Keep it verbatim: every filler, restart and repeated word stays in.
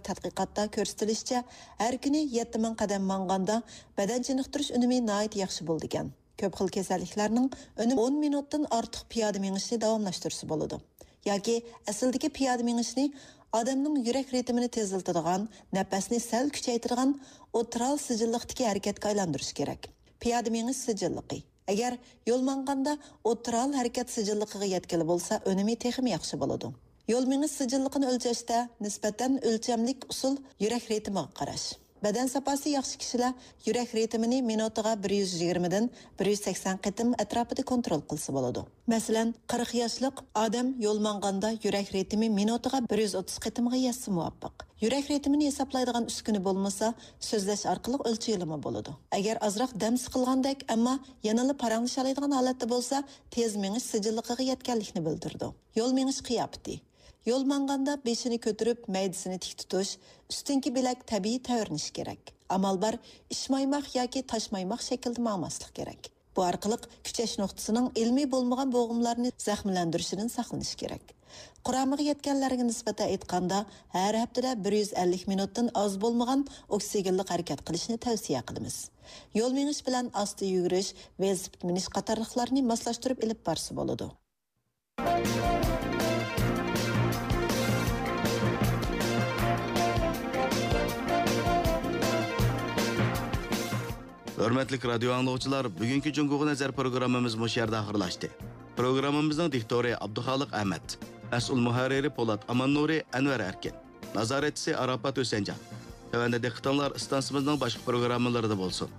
تەتقىقاتتا كۆرسىتىلىشىچە، ھەر كۈنى يەتتە مىڭ قەدەم ماڭغاندا بەدەن چېنىقتۇرۇش ئۈنۈمى ناھايىتى ياخشى بولىدىكەن. كۆپ خىل كېسەللىكلەرنىڭ ئۈنۈمى ئون مىنۇتتىن ئارتۇق پىيادە مېڭىشنى داۋاملاشتۇرسا بولىدۇ. ياكى ئەسلىدىكى پىيادە مېڭىشنى ئادەمنىڭ يۈرەك رىتىمىنى تېزلىتىدىغان، نەپەسنى سەل كۈچەيتىدىغان ئوتتۇرال سىجىللىقتىكى ھەرىكەتكە ئايلاندۇرۇش كېرەك. پىيادە مېڭىش سىجىللىقى. ئەگەر يول ماڭغاندا ئوتتۇرال ھەرىكەت سىجىللىقىغا يەتكىلى بولسا، ئۈنۈمى تېخىمۇ ياخشى بولىدۇ. يول مېڭىش سىجىللىقىنى ئۆلچەشتە نىسبەتەن ئۆلچەملىك ئۇسۇل يۈرەك رىتىمىغا قاراش. بەدەن ساپاسى ياخشى كىشىلەر يۈرەك رىتىمىنى مىنۇتىغا بىر يۈز يىگىرمىدىن بىر يۈز سەكسەن قېتىم ئەتراپىدا كونترول قىلسا بولىدۇ. مەسىلەن، قىرىق ياشلىق ئادەم يول ماڭغاندا يۈرەك رىتىمى مىنۇتىغا بىر يۈز ئوتتۇز قېتىمغا يەتسە مۇۋاپىق. يۈرەك رىتىمىنى ھېسابلايدىغان ئۈسكۈنە بولمىسا، سۆزلەش ئارقىلىق ئۆلچىگىلىمۇ بولىدۇ. ئەگەر ئازراق دەم سىقىلغاندەك، ئەمما يەنىلا پاراڭلىشالايدىغان ھالەتتە بولسا، تېز مېڭىش سىجىللىقىغا يەتكەنلىكنى بىلدۈرىدۇ. يول مېڭىش قىياپىتى. يول ماڭغاندا بېشىنى كۆتۈرۈپ، مەيدىسىنى تىك تۇتۇش، ئۈستۈنكى بىلەك تەبىئىي تەۋرىنىشى كېرەك. ئامال بار، ئىشمايماق ياكى تاشمايماق شەكلىدە ماڭماسلىق كېرەك. بۇ ئارقىلىق كۈچەش نۇقتىسىنىڭ ئىلمىي بولمىغان بوغۇملارنى زەخىملەندۈرۈشىدىن ساقلىنىش كېرەك. قۇرامىغا يەتكەنلەرگە نىسبەتەن ئېيتقاندا، ھەر ھەپتىدە بىر يۈز ئەللىك مىنۇتتىن ئاز بولمىغان ئوكسىگېنلىق ھەرىكەت قىلىشنى تەۋسىيە قىلىمىز. يول مېڭىش بىلەن ئاستا يۈگۈرۈش، ۋېلىسىپىت مىنىش قاتارلىقلارنى ماسلاشتۇرۇپ ئېلىپ بارسا بولىدۇ. ھۆرمەتلىك رادىيو ئاڭلىغۇچىلار، بۈگۈنكى جۇڭگوغا نەزەر پروگراممىمىز مۇشۇ يەردە ئاخىرلاشتى. پروگراممىمىزنىڭ دىكتورى ئابدۇخالىق ئەمەت، مەسئۇل مۇھەررىرى پولات ئاماننۇرى، ئەنۋەر ئەركىن، نازارەتچىسى ئاراپات ھۈسەنجان. تۆۋەندە دىققىتىڭلار ئىستانسىمىزنىڭ باشقا پروگراممىلىرىدا بولسۇن.